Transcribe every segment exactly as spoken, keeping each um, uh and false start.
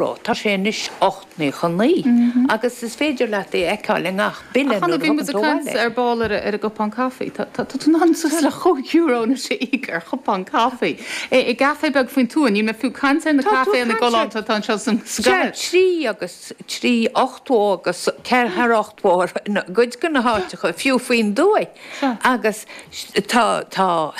Tá sé anois ocht nócha naoi agus is féidir leat é a fheiceáil i ngach bille nuair a thugann tú abhaile. Ar ball ar an gcupán caife. Tá tú in ann suas le chúig euro anois a íoc ar chupán caife. I gcaife beag faoin tuath, níl mé fiú caint ar na caiféanna galánta atá anseo sa gcathair. Trí agus trí ochtó agus ceathair ochtó i gcuid de na háiteacha, fiú faoin dtuaith. Agus tá tá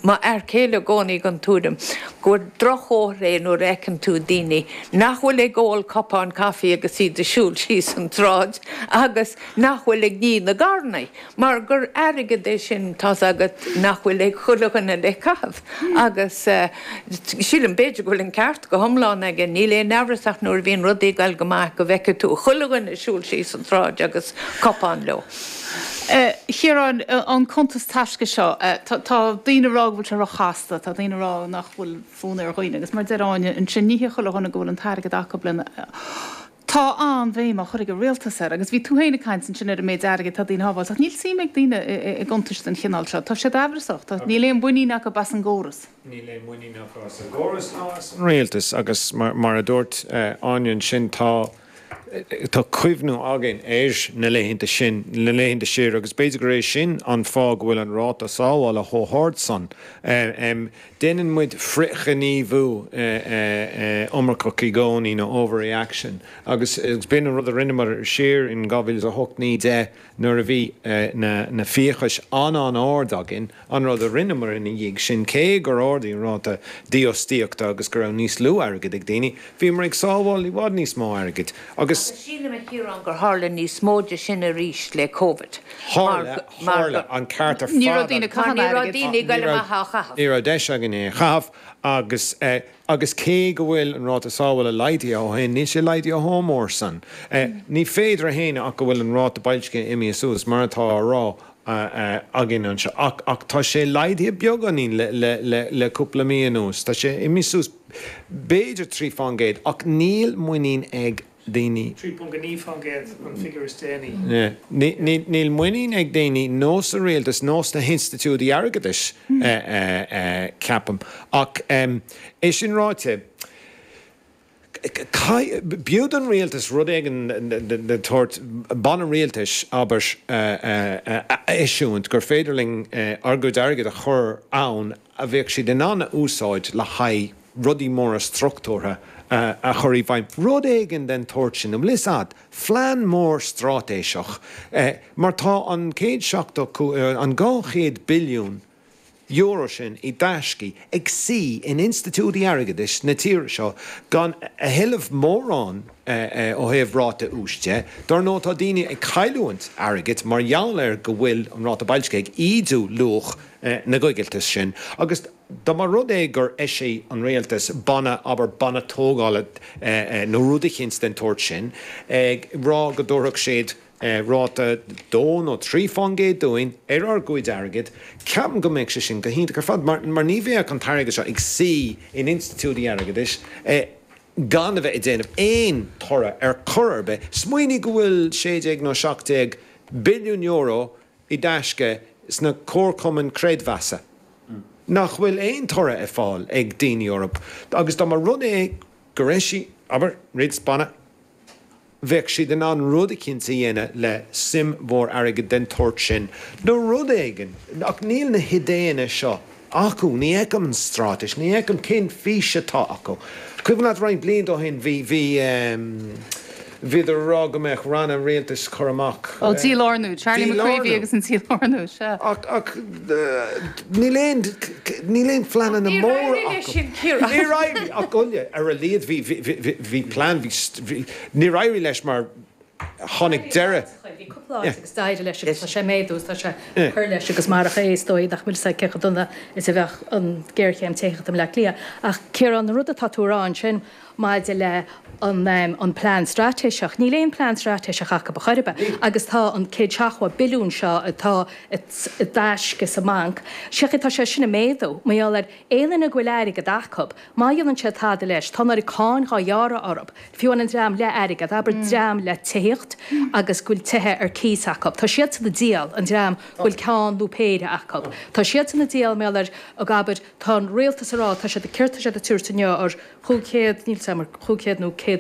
m'fhear céile i gcónaí den tuairim gur droch-chomhartha é nuair a fheiceann tú daoine nach bhfuil ag ól cupán caife agus iad ag siúl síos an tsráid agus nach bhfuil ag ní na gcarranna, mar gur airgead é sin, tá's agat, nach bhfuil ag chuile dhuine le caitheamh. Agus sílim, b'fhéidir go bhfuil an ceart go hiomlán aige, níl aon amhras ach nuair a bhíonn rudaí ag dul go maith go bhfeicfidh tú chuile dhuine ag siúl síos an tsráid agus cupán leo. A Chiaráin, an cuntas taisce seo, tá daoine ag rá go bhfuil sé róchasta, tá daoine ag rá nach bhfuil fonn ar dhaoine, agus mar a deir Áine ansin, ní hé chuile dhuine go bhfuil an t-airgead acu lena. Tá an-bhéim á chur ag an rialtas air, agus bhí tú féin ag caint ansin ar an méid airgid atá daoine a shábháilt, ach níl suim ag daoine i gcuntais den chineál seo. Tá siad amhrasach, níl aon mhuinín acu as an gcóras. Níl aon mhuinín acu as an gcóras ná as an rialtas, agus mar a dúirt Áine ansin, tá Tá cuimhne againn ar na laethanta sin, na laethanta siar, agus b'fhéidir gur é sin an fáth go bhfuil an ráta sábhála chomh hard san. Déanann muid frithghníomhú iomarcach i gcónaí, nó overreaction, agus b'in an rud a rinneamar siar in dhá mhíle is a hocht, naoi, deich, nuair a bhí na fiachais an-an-ard againn, an rud a rinneamar ina dhiaidh sin, cé gur ardaigh an ráta dífhostaíochta agus go raibh níos lú airgid ag daoine, bhíomar ag sábháil i bhfad níos mó airgid agus. Agus sílim, a Chiaráin, gur tharla níos mó de sin arís le Covid. Tharla, tharla, an ceart ar fad. Ní raibh daoine ag caitheamh airgid. Ní raibh daoine ag dul amach á chaitheamh. Ní raibh deis againn é a chaitheamh agus. Agus cé go bhfuil an ráta sábhála laghdaithe ó shin, níl sé laghdaithe chomh mór san. Ní féidir a shéanadh ach go bhfuil an ráta boilscithe imithe suas, mar atá á rá againn anseo. Ach ach tá sé laghdaithe beagáinín le le le le cúpla mí anuas. Tá sé imithe suas b'fhéidir trí faoin gcéad, ach níl muinín ag daoine. Trí ponc a naoi faoin gcéad an figiúr is déanaí. Níl muinín ag daoine nó sa rialtas nó sna hinstitiúidí airgeadais, ceapaim. Ach é sin ráite, b'fhiú don rialtas rud éigin den tsórt, banna rialtais, abair, a eisiúint gur féidir linn ár gcuid airgid a chur ann a bheadh siad in ann a úsáid le haghaidh rudaí móra struchtúrtha a chur i bhfeidhm, rud éigin den tsórt sin, an bhfuil fhios a'd, phlean mór straitéiseach, mar tá an céad seachtó, an dhá chéad billiún euro sin i dtaiscí ag suí in institiúidí airgeadais na tíre seo gan a thuilleamh mórán ó thaobh ráta úis de. Dar ndóigh tá daoine ag cailliúint airgid mar gheall ar go bhfuil an ráta boilscithe ag ídiú luach na gcoigilteas sin agus dá mba rud é gur eisigh an rialtas banna, abair, banna tógála nó rud eicínt den tsórt sin, ag rá go dtabharfadh siad ráta dó nó trí fán gcéad dúinn ar ár gcuid airgid, ceapaim go mbeadh sé sin go hiontach ar fad mar mar ní bheadh an t-airgead seo ag suí in institiúidí airgeadais gan a bheith ag déanamh aon toradh ar chor ar bith. Smaoinigh go bhfuil sé déag nó seacht déag billiún euro i dtaisce sna comharchumainn creidmheasa nach bhfuil aon toradh ag fáil ag daoine orthu agus dá mba rud é gur eisigh, abair, rialtas banna, bheadh siad in ann rud eicínt a dhéanamh le suim mhór airgid den tsórt sin nó rud éigin ach níl na hidéanna seo acu, ní fheicim an straitéis, ní fheicim cén fís atá acu. Cuimhin leat roinnt blianta ó shin bhí, bhí, bhíodar ag rá go mbeadh ranna rialtais curtha amach. Ó, dílárnú, Charlie McCreevy agus an dílárnú, sea. Ach, ach níl aon, níl aon phleananna Níor móra éirigh leis acu. sin, Ciarán. Níor éirigh, ach uile, ar a laghad bhí, bhí, bhí, bhí plean, bhí, bhí, níor éirigh leis mar tháinig deireadh. Bhí cúpla áit agus d'éirigh leis agus tá sé ag méadú agus tá sé ag cur leis agus marach é is dóigh nach bhfuil fhios a'd cé chomh dona is a bheadh an ghéarchéim tithíochta i mBleá Cliath. Ach Ciarán, an rud atá tú a rá ansin maidir le an an plean straitéiseach, níl aon plean straitéiseach acu ar chor ar bith agus tá an céad seachtó billiún seo atá i dtaisce sa mbanc, sé tá sé sin ag méadú mar gheall ar aon duine go bhfuil airgead acu, má dhéanann siad tada leis, tá an oiread cáin dhá ghearradh orthu. Fiú amháin an dream le airgead, abair dream le tithíocht, tithíocht agus go bhfuil tithe ar cíos acu. Tá siadsan ag díol, an dream go bhfuil ceann nó péire acu. Tá siadsan ag díol mar gheall ar, ag abair, tá an rialtas ag rá, tá siad, céard tá siad ag tabhairt inniu ar chúig chéad, níl 's agam, ar chúig chéad nó céad